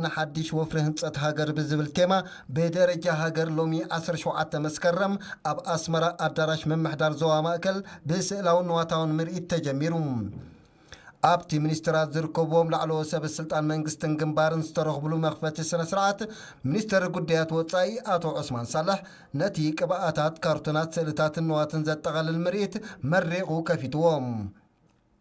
ንሓድሽ ወፍሪ ህንጸት ሃገር ብዝብል ቴማ ብደረጃ ሃገር ሎሚ ዓሰርተ ሸውዓተ መስከረም ኣብ ኣስመራ ኣዳራሽ ምምሕዳር ዞባ ማእከል ብስእላውን ንዋታውን ምርኢት ተጀሚሩ። ኣብቲ ሚኒስትራት ዝርከብዎም ላዕለዎት ሰበ ስልጣን መንግስትን ግንባርን ዝተረኽብሉ መኽፈቲ ስነ ስርዓት፣ ሚኒስትር ጉዳያት ወጻኢ ኣቶ ዑስማን ሳልሕ ነቲ ቅብኣታት፣ ካርቱናት፣ ስእልታትን ንዋትን ዘጠቓልል ምርኢት መሪቑ ከፊትዎ።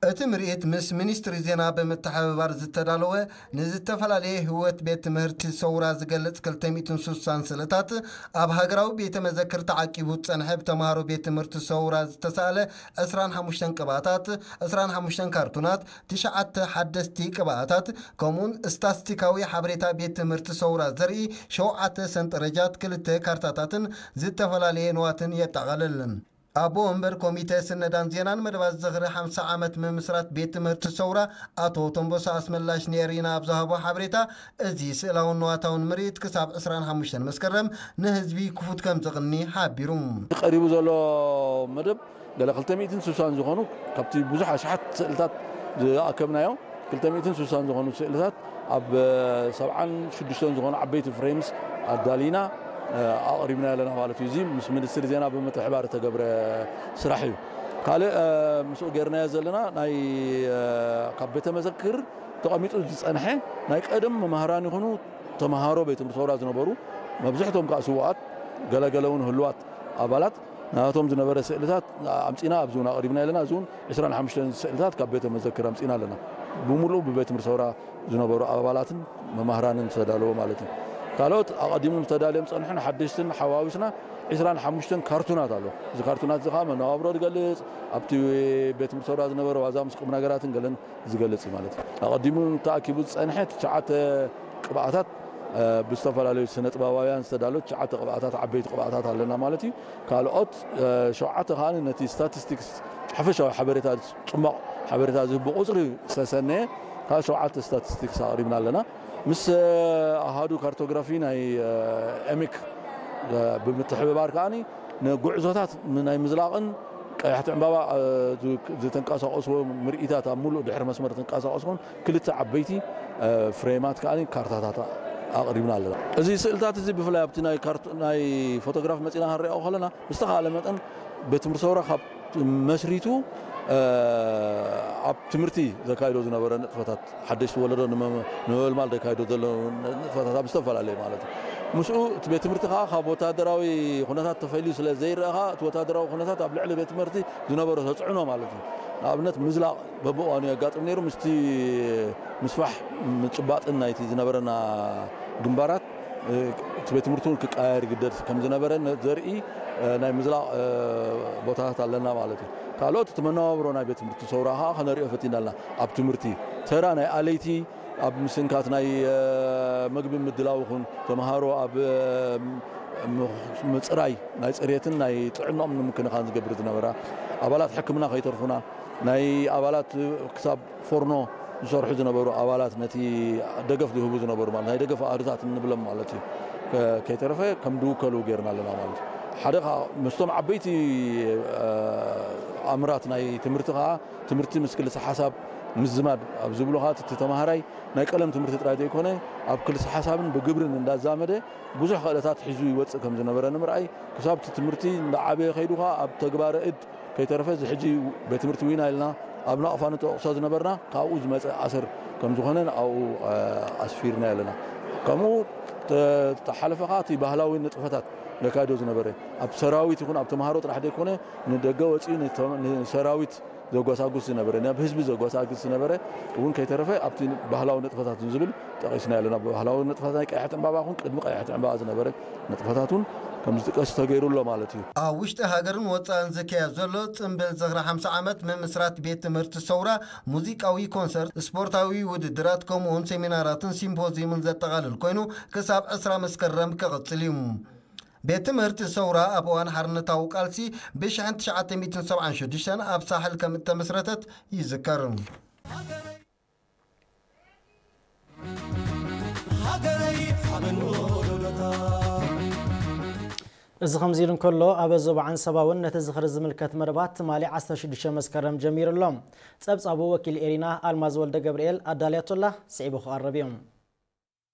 እቲ ምርኢት ምስ ሚኒስትሪ ዜና ብምትሕብባር ዝተዳለወ፣ ንዝተፈላለየ ህይወት ቤት ትምህርቲ ሰውራ ዝገልጽ ክልተ ሚእትን ስሳን ስእልታት፣ ኣብ ሃገራዊ ቤተ መዘክር ተዓቂቡ ዝጸንሐ ብተምሃሮ ቤት ትምህርቲ ሰውራ ዝተሳእለ ዕስራን ሓሙሽተን ቅብኣታት፣ ዕስራን ሓሙሽተን ካርቱናት፣ ትሽዓተ ሓደስቲ ቅብኣታት፣ ከምኡውን ስታስቲካዊ ሓበሬታ ቤት ትምህርቲ ሰውራ ዘርኢ ሸውዓተ ሰንጠረጃት፣ ክልተ ካርታታትን ዝተፈላለየ ንዋትን የጠቓልል። ኣቦ ወንበር ኮሚተ ስነዳን ዜናን መደባት ዝኽሪ ሓምሳ ዓመት ምምስራት ቤት ትምህርቲ ሰውራ ኣቶ ተንቦሳ ኣስመላሽ ንኤሪና ኣብ ዝሃቦ ሓበሬታ፣ እዚ ስእላውን ንዋታውን ምርኢት ክሳብ ዕስራን ሓሙሽተን መስከረም ንህዝቢ ክፉት ከም ዝቕኒ ሓቢሩ። ቀሪቡ ዘሎ መደብ ገለ ክልተ ሚእትን ስሳን ዝኾኑ፣ ካብቲ ብዙሕ ኣሽሓት ስእልታት ዝኣከብናዮ፣ ክልተ ሚእትን ስሳን ዝኾኑ ስእልታት ኣብ ሰብዓን ሽዱሽተን ዝኾኑ ዓበይቲ ፍሬምስ ኣዳሊና ኣቕሪብና ኣለና ማለት እዩ። እዚ ምስ ሚኒስትሪ ዜና ብምትሕባር እተገብረ ስራሕ እዩ። ካልእ ምስኡ ጌርናዮ ዘለና ናይ ካብ ቤተ መዘክር ተቐሚጡ ዝጸንሐ ናይ ቀደም መምህራን ይኹኑ ተምሃሮ ቤት ትምህርቲ ሰውራ ዝነበሩ፣ መብዝሕቶም ከዓ ስውኣት፣ ገለገለ እውን ህሉዋት ኣባላት ናቶም ዝነበረ ስእልታት ኣምጺና ኣብዚ እውን ኣቕሪብና ኣለና። እዚ እውን ዕስራን ሓሙሽተን ስእልታት ካብ ቤተ መዘክር ኣምጺና ኣለና። ብምሉኡ ብቤት ትምህርቲ ሰውራ ዝነበሩ ኣባላትን መማህራንን ዝተዳለወ ማለት እዩ። ካልኦት ኣቐዲሞም ዝተዳለዮም ጸንሑን ሓደሽትን ሓዋዊስና ዕስራን ሓሙሽተን ካርቱናት ኣሎ። እዚ ካርቱናት እዚ ከዓ መነባብሮ ዝገልጽ፣ ኣብቲ ቤት ትምህርቲ ሰውራ ዝነበረ ዋዛ ምስ ቁም ነገራትን ገለን ዝገልጽ እዩ ማለት እዩ። ኣቐዲሙ ተኣኪቡ ዝጸንሐ ትሽዓተ ቅብኣታት፣ ብዝተፈላለዩ ስነ ጥበባውያን ዝተዳለወ ትሽዓተ ቅብኣታት፣ ዓበይቲ ቅብኣታት ኣለና ማለት እዩ። ካልኦት ሸውዓተ ከዓ ነቲ ስታቲስቲክስ፣ ሓፈሻዊ ሓበሬታ፣ ጽማቕ ሓበሬታ ዝህብ ብቁጽሪ ዝተሰነየ ካብ ሸውዓተ ስታቲስቲክስ ኣቕሪብና ኣለና። ምስ ኣሃዱ ካርቶግራፊ ናይ ኤሚክ ብምትሕብባር ከዓኒ ንጉዕዞታት ናይ ምዝላቕን ቀያሕቲ ዕምባባ ዝተንቀሳቐስዎ ምርኢታት፣ ኣብ ሙሉእ ድሕሪ መስመር ዝንቀሳቐስዎን ክልተ ዓበይቲ ፍሬማት ከዓኒ ካርታታት ኣቕሪብና ኣለና። እዚ ስእልታት እዚ ብፍላይ ኣብቲ ናይ ካርቶ-፣ ናይ ፎቶግራፍ መጺና ክንሪኦ ከለና፣ ብዝተኻእለ መጠን ቤት ትምህርቲ ሰውራ ካብ መስሪቱ ኣብ ትምህርቲ ዘካይዶ ዝነበረ ንጥፈታት፣ ሓደሽቲ ወለዶ ንመ-፣ ንምምልማል ዘካይዶ ዘሎ ንጥፈታት ኣብ ዝተፈላለየ ማለት እዩ። ምስኡ እቲ ቤት ትምህርቲ ከዓ ካብ ወታደራዊ ኩነታት ተፈልዩ ስለ ዘይረአ ከዓ፣ እቲ ወታደራዊ ኩነታት ኣብ ልዕሊ ቤት ትምህርቲ ዝነበሮ ተፅዕኖ ማለት እዩ። ንኣብነት ምዝላቕ በብእዋኑ የጋጥም ነይሩ። ምስቲ ምስፋሕ ምጭባጥን ናይቲ ዝነበረና ግንባራት፣ እቲ ቤት ትምህርቲ እውን ክቀያየር ይግደድ ከም ዝነበረ ዘርኢ ናይ ምዝላቕ ቦታታት ኣለና ማለት እዩ። ካልኦት እቲ መነባብሮ ናይ ቤት ትምህርቲ ሰውራ ከዓ ከነሪኦ ፈቲና ኣለና። ኣብ ትምህርቲ ተራ ናይ ኣለይቲ ኣብ ምስንካት ናይ መግቢ ምድላው ይኹን፣ ተምሃሮ ኣብ ምፅራይ፣ ናይ ፅሬትን ናይ ጥዕናኦም ንምክንኻን ዝገብር ዝነበራ፣ ኣባላት ሕክምና ከይተርፉና፣ ናይ ኣባላት ክሳብ ፎርኖ ዝሰርሑ ዝነበሩ ኣባላት፣ ነቲ ደገፍ ዝህቡ ዝነበሩ ማለት ናይ ደገፍ ኣሃዱታት እንብሎም ማለት እዩ፣ ከ-፣ ከይተረፈ ከም ድውከሉ ጌርና ኣለና ማለት እዩ። ሓደ ከዓ ምስቶም ዓበይቲ ኣምራት ናይ ትምህርቲ ከዓ፣ ትምህርቲ ምስ ክልሰ ሓሳብ ምዝማድ ኣብ ዝብሉ ከዓ፣ እቲ ተምሃራይ ናይ ቀለም ትምህርቲ ጥራይ ዘይኮነ፣ ኣብ ክልሰ ሓሳብን ብግብርን እንዳዛመደ ብዙሕ ክእለታት ሒዙ ይወፅእ ከም ዝነበረ ንምርኣይ፣ ክሳብ እቲ ትምህርቲ እንዳዓበየ ከይዱ ከዓ ኣብ ተግባረ እድ ከይተረፈ፣ እዚ ሕጂ ቤት ትምህርቲ ዊና ኢልና ኣብ ናቕፋ ንጠቕሶ ዝነበርና፣ ካብኡ ዝመፀ ኣሰር ከም ዝኾነ ኣብኡ ኣስፊርና ኣለና። ከምኡ ተ-፣ ተሓለፈ ከዓ እቲ ባህላዊ ንጥፈታት ነካይዶ ዝነበረ፣ ኣብ ሰራዊት ይኹን ኣብ ተምሃሮ ጥራሕ ዘይኮነ፣ ንደገ ወፂኡ ንተ-፣ ንሰራዊት ዘጓሳጉስ ዝነበረ፣ ናብ ህዝቢ ዘጓሳጉስ ዝነበረ እውን ከይተረፈ ኣብቲ ባህላዊ ንጥፈታት ዝብል ጠቒስና ኣለና። ባህላዊ ንጥፈታት ናይ ቀያሕቲ ዕምባባ ይኹን ቅድሚ ቀያሕቲ ዕምባባ ዝነበረ ንጥፈታት እውን ከም ዝጥቀስ ተገይሩ ኣሎ ማለት እዩ። ኣብ ውሽጢ ሃገርን ወፃእን ዝካየድ ዘሎ ጽምብል ዝኽሪ ሓምሳ ዓመት ምምስራት ቤት ትምህርቲ ሰውራ፣ ሙዚቃዊ ኮንሰርት፣ ስፖርታዊ ውድድራት፣ ከምኡውን ሴሚናራትን ሲምፖዚየምን ዘጠቓልል ኮይኑ፣ ክሳብ ዕስራ መስከረም ክቕጽል እዩ። ቤት ትምህርቲ ሰውራ ኣብ እዋን ሓርነታዊ ቃልሲ ብሽሕን ትሽዓተ ሚእትን ሰብዓን ሽዱሽተን ኣብ ሳሕል ከም እተመስረተት ይዝከር። እዚ ከምዚ ኢሉ እንከሎ፣ ኣብ ዞባ ዓንሰባ እውን ነቲ ዝኽሪ ዝምልከት መደባት ትማሊ ዓሰርተ ሽዱሽተ መስከረም ጀሚሩ ኣሎ። ጸብጻቡ ወኪል ኤሪና ኣልማዝ ወልደ ገብርኤል ኣዳልያቶላ፣ ስዒቡ ክቐርብ እዩ።